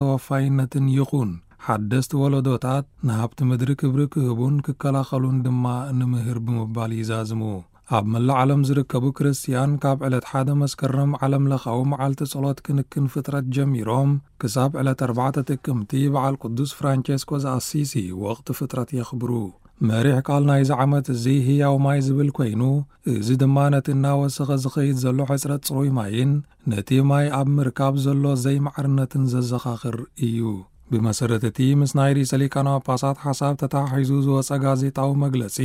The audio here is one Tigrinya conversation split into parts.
ተወፋይነትን ይኹን ሓደስቲ ወለዶታት ንሃብቲ ምድሪ ክብሪ ክህቡን ክከላኸሉን ድማ ንምህር ብምባል ይዛዝሙ። ኣብ መላእ ዓለም ዝርከቡ ክርስትያን ካብ ዕለት ሓደ መስከረም ዓለም ለኻዊ መዓልቲ ጸሎት ክንክን ፍጥረት ጀሚሮም ክሳብ ዕለት ኣርባዕተ ጥቅምቲ በዓል ቅዱስ ፍራንቸስኮ ዘኣሲሲ ወቕቲ ፍጥረት የኽብሩ። መሪሕ ቃል ናይዚ ዓመት እዚ ህያው ማይ ዝብል ኮይኑ፣ እዚ ድማ ነቲ እናወሰኸ ዝኸይድ ዘሎ ሕጽረት ጽሩይ ማይን ነቲ ማይ ኣብ ምርካብ ዘሎ ዘይማዕርነትን ዘዘኻኽር እዩ። ብመሰረት እቲ ምስ ናይ ርእሰ ሊቃነ ጳጳሳት ሓሳብ ተተሓሒዙ ዝወጸ ጋዜጣዊ መግለጺ፣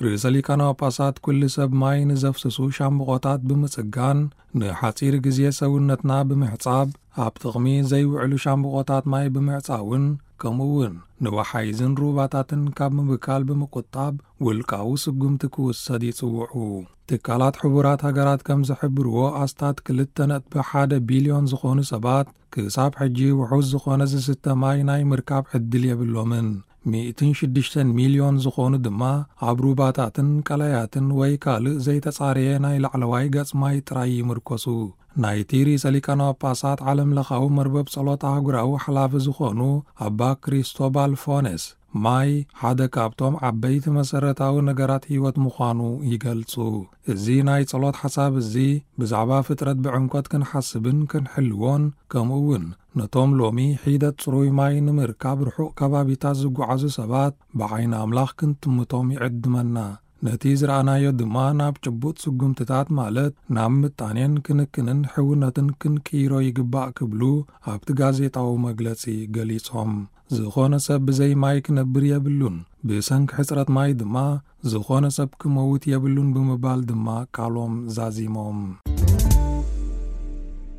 ርእሰ ሊቃነ ጳጳሳት ኩሉ ሰብ ማይ ንዘፍስሱ ሻምብቆታት ብምጽጋን፣ ንሓጺር ግዜ ሰውነትና ብምሕጻብ፣ ኣብ ጥቕሚ ዘይውዕሉ ሻምብቆታት ማይ ብምዕጻውን፣ ከምኡ እውን ንወሓይዝን ሩባታትን ካብ ምብካል ብምቁጣብ ውልቃዊ ስጉምቲ ክውሰድ ይጽውዑ። ትካላት ሕቡራት ሃገራት ከም ዝሕብርዎ፣ ኣስታት ክልተ ነጥቢ ሓደ ቢልዮን ዝኾኑ ሰባት ክሳብ ሕጂ ውሑስ ዝኾነ ዝስተ ማይ ናይ ምርካብ ዕድል የብሎምን። ሚእትን ሽዱሽተን ሚልዮን ዝኾኑ ድማ ኣብ ሩባታትን ቀላያትን ወይ ካልእ ዘይተጻረየ ናይ ላዕለዋይ ገጽ ማይ ጥራይ ይምርኮሱ። ናይቲ ርእሰ ሊቃነ ጳጳሳት ዓለም ለኻዊ መርበብ ጸሎት ኣህጉራዊ ሓላፊ ዝኾኑ ኣባ ክሪስቶባል ፎነስ፣ ማይ ሓደ ካብቶም ዓበይቲ መሰረታዊ ነገራት ህይወት ምዃኑ ይገልጹ። እዚ ናይ ጸሎት ሓሳብ እዚ ብዛዕባ ፍጥረት ብዕምቆት ክንሓስብን ክንሕልዎን፣ ከምኡ እውን ነቶም ሎሚ ሒደት ጽሩይ ማይ ንምርካብ ርሑቕ ከባቢታት ዝጓዓዙ ሰባት ብዓይኒ ኣምላኽ ክንጥምቶም ይዕድመና። ነቲ ዝረኣናዮ ድማ ናብ ጭቡጥ ስጉምትታት፣ ማለት ናብ ምጣኔን ክንክንን ሕውነትን ክንቅይሮ ይግባእ ክብሉ ኣብቲ ጋዜጣዊ መግለጺ ገሊጾም። ዝኾነ ሰብ ብዘይ ማይ ክነብር የብሉን፣ ብሰንኪ ሕጽረት ማይ ድማ ዝኾነ ሰብ ክመውት የብሉን ብምባል ድማ ቃሎም ዛዚሞም።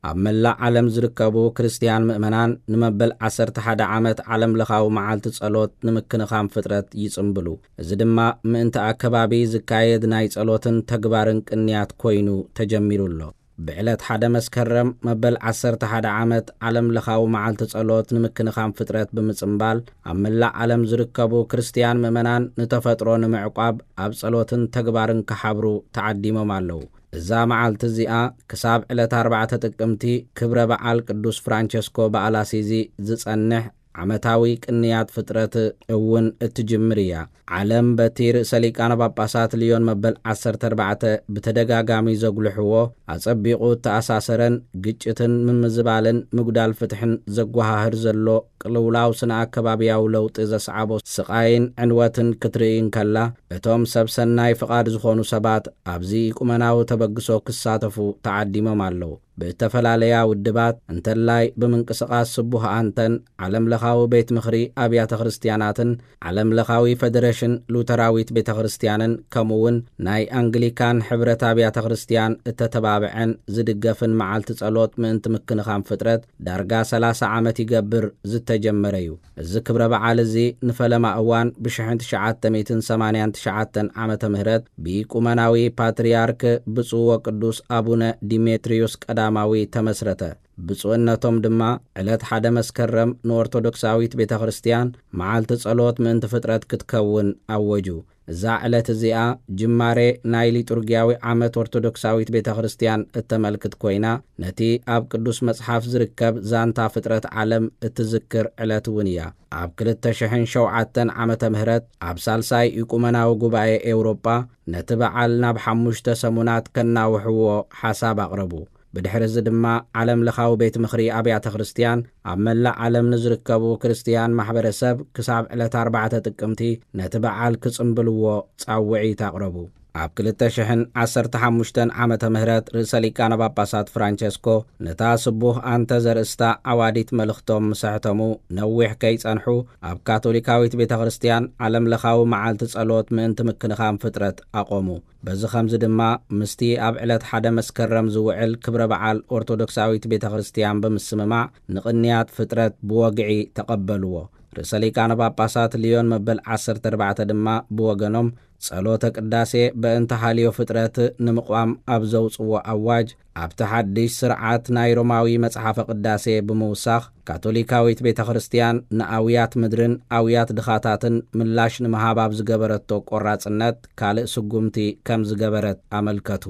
ኣብ መላእ ዓለም ዝርከቡ ክርስትያን ምእመናን ንመበል ዓሰርተ ሓደ ዓመት ዓለም ለኻዊ መዓልቲ ጸሎት ንምክንኻን ፍጥረት ይጽምብሉ። እዚ ድማ ምእንቲ ኣከባቢ ዝካየድ ናይ ጸሎትን ተግባርን ቅንያት ኮይኑ ተጀሚሩ ኣሎ። ብዕለት ሓደ መስከረም መበል ዓሰርተ ሓደ ዓመት ዓለም ለኻዊ መዓልቲ ጸሎት ንምክንኻን ፍጥረት ብምጽምባል፣ ኣብ መላእ ዓለም ዝርከቡ ክርስትያን ምእመናን ንተፈጥሮ ንምዕቋብ ኣብ ጸሎትን ተግባርን ክሓብሩ ተዓዲሞም ኣለዉ። እዛ መዓልቲ እዚኣ ክሳብ ዕለት ኣርባዕተ ጥቅምቲ ክብረ በዓል ቅዱስ ፍራንቸስኮ በኣላሲዚ ዝጸንሕ ዓመታዊ ቅንያት ፍጥረት እውን እትጅምር እያ። ዓለም በቲ ርእሰ ሊቃነ ጳጳሳት ልዮን መበል ዓሰርተ ኣርባዕተ ብተደጋጋሚ ዘጉልሕዎ፣ ኣጸቢቑ እተኣሳሰረን ግጭትን ምምዝባልን ምጉዳል ፍትሕን ዘጓሃህር ዘሎ ቅልውላው ስነ ኣከባብያዊ ለውጢ ዘስዓቦ ስቓይን ዕንወትን ክትርኢ እንከላ፣ እቶም ሰብ ሰናይ ፍቓድ ዝኾኑ ሰባት ኣብዚ ኢቁመናዊ ተበግሶ ክሳተፉ ተዓዲሞም ኣለዉ። ብእተፈላለያ ውድባት፣ እንተላይ ብምንቅስቓስ ስቡህ ኣንተን፣ ዓለም ለኻዊ ቤት ምኽሪ ኣብያተ ክርስትያናትን ዓለም ለኻዊ ፈደረሽን ሉተራዊት ቤተ ክርስትያንን፣ ከምኡ እውን ናይ ኣንግሊካን ሕብረት ኣብያተ ክርስትያን እተተባብዐን ዝድገፍን መዓልቲ ጸሎት ምእንቲ ምክንኻን ፍጥረት ዳርጋ ሰላሳ ዓመት ይገብር ዝተጀመረ እዩ። እዚ ክብረ በዓል እዚ ንፈለማ እዋን ብሽሕን ትሽዓተ ሚእትን ሰማንያን ትሽዓተን ዓመተ ምህረት ብኢቁመናዊ ፓትርያርክ ብፁዕ ወቅዱስ ኣቡነ ዲሜትሪዮስ ቀዳማዊ ተመስረተ። ብፁዕነቶም ድማ ዕለት ሓደ መስከረም ንኦርቶዶክሳዊት ቤተ ክርስትያን መዓልቲ ጸሎት ምእንቲ ፍጥረት ክትከውን ኣወጁ። እዛ ዕለት እዚኣ ጅማሬ ናይ ሊጡርጊያዊ ዓመት ኦርቶዶክሳዊት ቤተ ክርስትያን እተመልክት ኮይና፣ ነቲ ኣብ ቅዱስ መጽሓፍ ዝርከብ ዛንታ ፍጥረት ዓለም እትዝክር ዕለት እውን እያ። ኣብ ክልተ ሽሕን ሸውዓተን ዓመተ ምህረት ኣብ ሳልሳይ ኢቁመናዊ ጉባኤ ኤውሮጳ ነቲ በዓል ናብ ሓሙሽተ ሰሙናት ከናውሕዎ ሓሳብ ኣቕረቡ። ብድሕሪ እዚ ድማ ዓለም ለኻዊ ቤት ምኽሪ ኣብያተ ክርስትያን ኣብ መላእ ዓለም ንዝርከቡ ክርስትያን ማሕበረሰብ ክሳብ ዕለት ኣርባዕተ ጥቅምቲ ነቲ በዓል ክጽምብልዎ ጻውዒት ኣቕረቡ። ኣብ ክልተ ሽሕን ዓሰርተ ሓሙሽተን ዓመተ ምህረት ርእሰ ሊቃነ ጳጳሳት ፍራንቸስኮ ነታ ስቡህ ኣንተ ዘርእስታ ዓዋዲት መልእኽቶም ምስ ኣሕተሙ ነዊሕ ከይጸንሑ ኣብ ካቶሊካዊት ቤተ ክርስትያን ዓለም ለኻዊ መዓልቲ ጸሎት ምእንቲ ምክንኻን ፍጥረት ኣቖሙ። በዚ ኸምዚ ድማ ምስቲ ኣብ ዕለት ሓደ መስከረም ዝውዕል ክብረ በዓል ኦርቶዶክሳዊት ቤተ ክርስትያን ብምስምማዕ ንቕንያት ፍጥረት ብወግዒ ተቐበልዎ። ርእሰ ሊቃነ ጳጳሳት ልዮን መበል ዓሰርተ ኣርባዕተ ድማ ብወገኖም ጸሎተ ቅዳሴ በእንተ ሃልዮ ፍጥረት ንምቕዋም ኣብ ዘውጽዎ ኣዋጅ ኣብቲ ሓድሽ ስርዓት ናይ ሮማዊ መጽሓፈ ቅዳሴ ብምውሳኽ ካቶሊካዊት ቤተ ክርስትያን ንኣውያት ምድርን ኣውያት ድኻታትን ምላሽ ንምሃብ ኣብ ዝገበረቶ ቆራጽነት ካልእ ስጉምቲ ከም ዝገበረት ኣመልከቱ።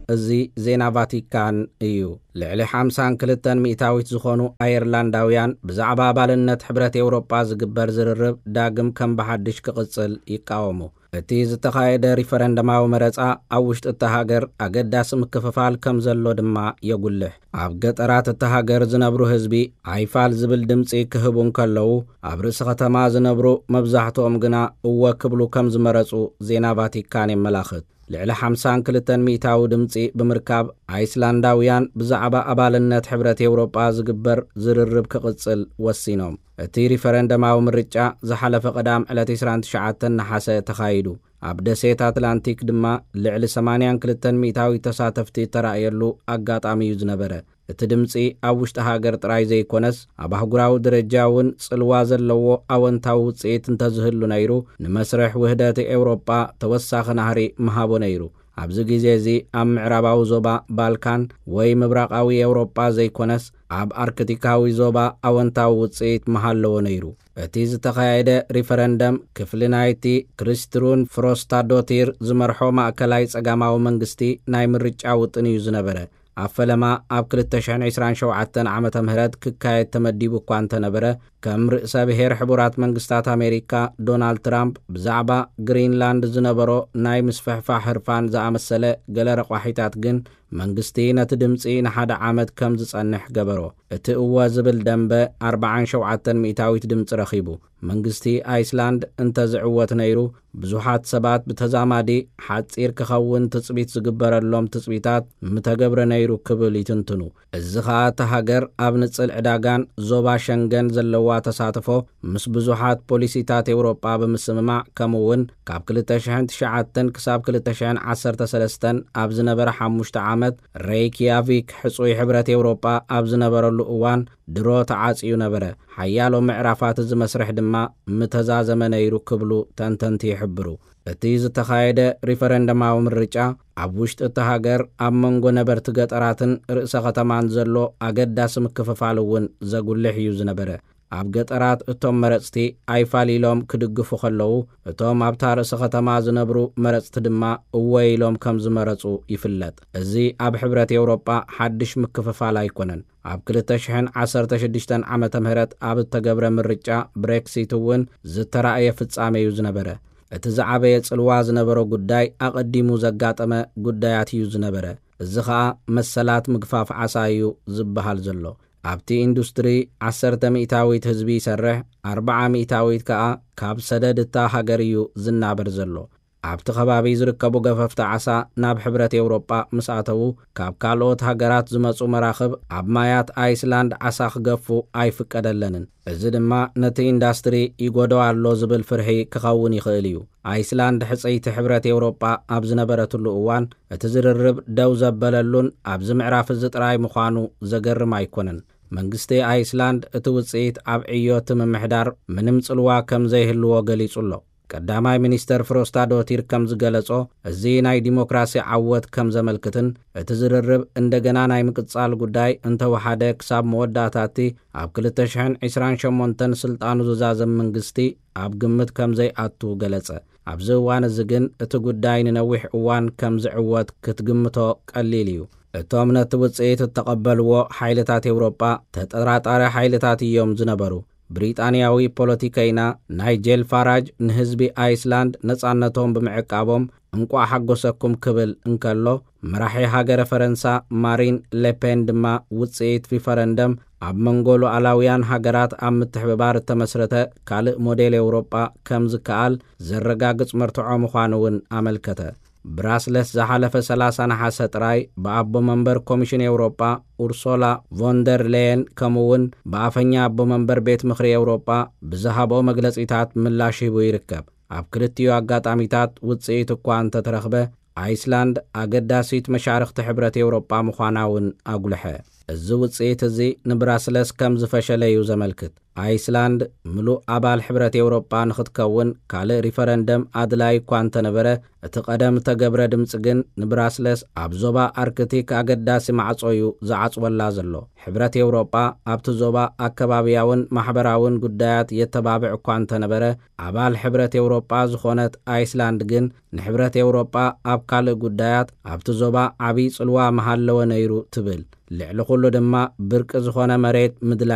እዚ ዜና ቫቲካን እዩ። ልዕሊ ሓምሳን ክልተን ሚእታዊት ዝኾኑ ኣየርላንዳውያን ብዛዕባ ኣባልነት ሕብረት ኤውሮጳ ዝግበር ዝርርብ ዳግም ከም ብሓድሽ ክቕጽል ይቃወሙ። እቲ ዝተኻየደ ሪፈረንደማዊ መረጻ ኣብ ውሽጢ እታ ሃገር ኣገዳሲ ምክፍፋል ከም ዘሎ ድማ የጉልሕ። ኣብ ገጠራት እታ ሃገር ዝነብሩ ህዝቢ ኣይፋል ዝብል ድምጺ ክህቡ እንከለዉ፣ ኣብ ርእሲ ከተማ ዝነብሩ መብዛሕትኦም ግና እወ ክብሉ ከም ዝመረጹ ዜና ቫቲካን የመላኽት። ልዕሊ ሓምሳን ክልተን ሚእታዊ ድምጺ ብምርካብ፣ ኣይስላንዳውያን ብዛዕባ ኣባልነት ሕብረት ኤውሮጳ ዝግበር ዝርርብ ክቕጽል ወሲኖም። እቲ ሪፈረንደማዊ ምርጫ ዝሓለፈ ቀዳም ዕለት ዕስራን ትሽዓተን ነሓሰ ተኻይዱ። ኣብ ደሴት ኣትላንቲክ ድማ ልዕሊ ሰማንያን ክልተን ሚእታዊ ተሳተፍቲ እተራእየሉ ኣጋጣሚ እዩ ዝነበረ። እቲ ድምጺ ኣብ ውሽጢ ሃገር ጥራይ ዘይኮነስ፣ ኣብ ኣህጉራዊ ደረጃ እውን ጽልዋ ዘለዎ ኣወንታዊ ውጽኢት እንተዝህሉ ነይሩ፣ ንመስርሕ ውህደት ኤውሮጳ ተወሳኺ ናህሪ ምሃቦ ነይሩ። ኣብዚ ግዜ እዚ ኣብ ምዕራባዊ ዞባ ባልካን ወይ ምብራቓዊ ኤውሮጳ ዘይኮነስ፣ ኣብ ኣርክቲካዊ ዞባ ኣወንታዊ ውጽኢት ምሃለዎ ነይሩ። እቲ ዝተኻየደ ሪፈረንደም ክፍሊ ናይቲ ክሪስትሩን ፍሮስታዶቲር ዝመርሖ ማእከላይ ጸጋማዊ መንግስቲ ናይ ምርጫ ውጥን እዩ ዝነበረ። ኣብ ፈለማ ኣብ ክልተ ሽሕን ዕስራን ሸውዓተን ዓመተ ምህረት ክካየድ ተመዲቡ እኳ እንተነበረ፣ ከም ርእሰ ብሔር ሕቡራት መንግስታት ኣሜሪካ ዶናልድ ትራምፕ ብዛዕባ ግሪንላንድ ዝነበሮ ናይ ምስፍሕፋሕ ህርፋን ዝኣመሰለ ገለ ረቋሒታት ግን መንግስቲ ነቲ ድምጺ ንሓደ ዓመት ከም ዝጸንሕ ገበሮ። እቲ እወ ዝብል ደንበ ኣርብዓን ሸውዓተን ሚእታዊት ድምጺ ረኺቡ። መንግስቲ ኣይስላንድ እንተ ዝዕወት ነይሩ፣ ብዙሓት ሰባት ብተዛማዲ ሓጺር ክኸውን ትጽቢት ዝግበረሎም ትጽቢታት ምተገብረ ነይሩ ክብል ይትንትኑ። እዚ ኸኣ እታ ሃገር ኣብ ንጽል ዕዳጋን ዞባ ሸንገን ዘለዋ ተሳትፎ ምስ ብዙሓት ፖሊሲታት ኤውሮጳ ብምስምማዕ፣ ከምኡ እውን ካብ ክልተ ሽሕን ትሽዓተን ክሳብ ክልተ ሽሕን ዓሰርተ ሰለስተን ኣብ ዝነበረ ሓሙሽተ ዓመት፣ ሬይክያቪክ ሕጹይ ሕብረት ኤውሮጳ ኣብ ዝነበረሉ እዋን ድሮ ተዓጽዩ ነበረ። ሓያሎ ምዕራፋት እዚ መስርሕ ድማ ምተዛዘመ ነይሩ ክብሉ ተንተንቲ ይሕብሩ። እቲ ዝተኻየደ ሪፈረንደማዊ ምርጫ ኣብ ውሽጢ እታ ሃገር ኣብ መንጎ ነበርቲ ገጠራትን ርእሰ ከተማን ዘሎ ኣገዳሲ ምክፍፋል እውን ዘጉልሕ እዩ ዝነበረ። ኣብ ገጠራት እቶም መረጽቲ ኣይፋል ኢሎም ክድግፉ ከለዉ፣ እቶም ኣብታ ርእሰ ከተማ ዝነብሩ መረጽቲ ድማ እወ ኢሎም ከም ዝመረጹ ይፍለጥ። እዚ ኣብ ሕብረት ኤውሮጳ ሓድሽ ምክፍፋል ኣይኮነን። ኣብ ክልተ ሽሕን ዓሰርተ ሽዱሽተን ዓመተ ምህረት ኣብ እተገብረ ምርጫ ብሬክሲት እውን ዝተራእየ ፍጻሜ እዩ ዝነበረ። እቲ ዝዓበየ ጽልዋ ዝነበሮ ጉዳይ ኣቐዲሙ ዘጋጠመ ጉዳያት እዩ ዝነበረ። እዚ ኸኣ መሰላት ምግፋፍ ዓሳ እዩ ዝበሃል ዘሎ። ኣብቲ ኢንዱስትሪ ዓሰርተ ሚእታዊት ህዝቢ ይሰርሕ፣ ኣርብዓ ሚእታዊት ከኣ ካብ ሰደድ እታ ሃገር እዩ ዝናበር ዘሎ። ኣብቲ ከባቢ ዝርከቡ ገፈፍቲ ዓሳ ናብ ሕብረት ኤውሮጳ ምስ ኣተዉ፣ ካብ ካልኦት ሃገራት ዝመጹ መራኽብ ኣብ ማያት ኣይስላንድ ዓሳ ክገፉ ኣይፍቀደለንን። እዚ ድማ ነቲ ኢንዳስትሪ ይጎዶ ኣሎ ዝብል ፍርሒ ክኸውን ይኽእል እዩ። ኣይስላንድ ሕጽይቲ ሕብረት ኤውሮጳ ኣብ ዝነበረትሉ እዋን፣ እቲ ዝርርብ ደው ዘበለሉን ኣብዚ ምዕራፍ እዚ ጥራይ ምዃኑ ዘገርም ኣይኮነን። መንግስቲ ኣይስላንድ እቲ ውጽኢት ኣብ ዕዮ እቲ ምምሕዳር ምንም ጽልዋ ከም ዘይህልዎ ገሊጹ ኣሎ። ቀዳማይ ሚኒስተር ፍሮስታዶቲር ከም ዝገለጾ፣ እዚ ናይ ዲሞክራሲ ዓወት ከም ዘመልክትን እቲ ዝርርብ እንደገና ናይ ምቅጻል ጉዳይ እንተወሓደ ክሳብ መወዳእታ እቲ ኣብ ክልተ ሽሕን ዕስራን ሸሞንተን ስልጣኑ ዝዛዘም መንግስቲ ኣብ ግምት ከም ዘይኣቱ ገለጸ። ኣብዚ እዋን እዚ ግን እቲ ጉዳይ ንነዊሕ እዋን ከም ዝዕወት ክትግምቶ ቀሊል እዩ። እቶም ነቲ ውጽኢት እተቐበልዎ ሓይልታት ኤውሮጳ ተጠራጣሪ ሓይልታት እዮም ዝነበሩ። ብሪጣንያዊ ፖለቲከይና ናይጄል ፋራጅ ንህዝቢ ኣይስላንድ ነጻነቶም ብምዕቃቦም እንቋዕ ሓጎሰኩም ክብል እንከሎ፣ መራሒ ሃገረ ፈረንሳ ማሪን ሌፔን ድማ ውጽኢት ሪፈረንደም ኣብ መንጎ ሉዓላውያን ሃገራት ኣብ ምትሕብባር እተመስረተ ካልእ ሞዴል ኤውሮጳ ከም ዝከኣል ዘረጋግጽ መርትዖ ምዃኑ እውን ኣመልከተ። ብራስለስ ዝሓለፈ ሰላሳ ነሓሰ ጥራይ ብኣቦ መንበር ኮሚሽን ኤውሮጳ ኡርሶላ ቮንደር ሌየን፣ ከምኡ እውን ብኣፈኛ ኣቦ መንበር ቤት ምኽሪ ኤውሮጳ ብዝሃብኦ መግለጺታት ምላሽ ሂቡ ይርከብ። ኣብ ክልቲኡ ኣጋጣሚታት ውጽኢት እኳ እንተተረኽበ፣ ኣይስላንድ ኣገዳሲት መሻርኽቲ ሕብረት ኤውሮጳ ምዃና እውን ኣጉልሐ። እዚ ውጽኢት እዚ ንብራስለስ ከም ዝፈሸለ እዩ ዘመልክት። ኣይስላንድ ምሉእ ኣባል ሕብረት ኤውሮጳ ንኽትከውን ካልእ ሪፈረንደም ኣድላይ እኳ እንተነበረ፣ እቲ ቀደም እተገብረ ድምጺ ግን ንብራስለስ ኣብ ዞባ ኣርክቲክ ኣገዳሲ ማዕጾ እዩ ዝዓጽወላ ዘሎ። ሕብረት ኤውሮጳ ኣብቲ ዞባ ኣከባብያውን ማሕበራውን ጉዳያት የተባብዕ እኳ እንተነበረ፣ ኣባል ሕብረት ኤውሮጳ ዝኾነት ኣይስላንድ ግን ንሕብረት ኤውሮጳ ኣብ ካልእ ጉዳያት ኣብቲ ዞባ ዓብዪ ጽልዋ ምሃለወ ነይሩ ትብል። ልዕሊ ኩሉ ድማ ብርቂ ዝኾነ መሬት ምድላይ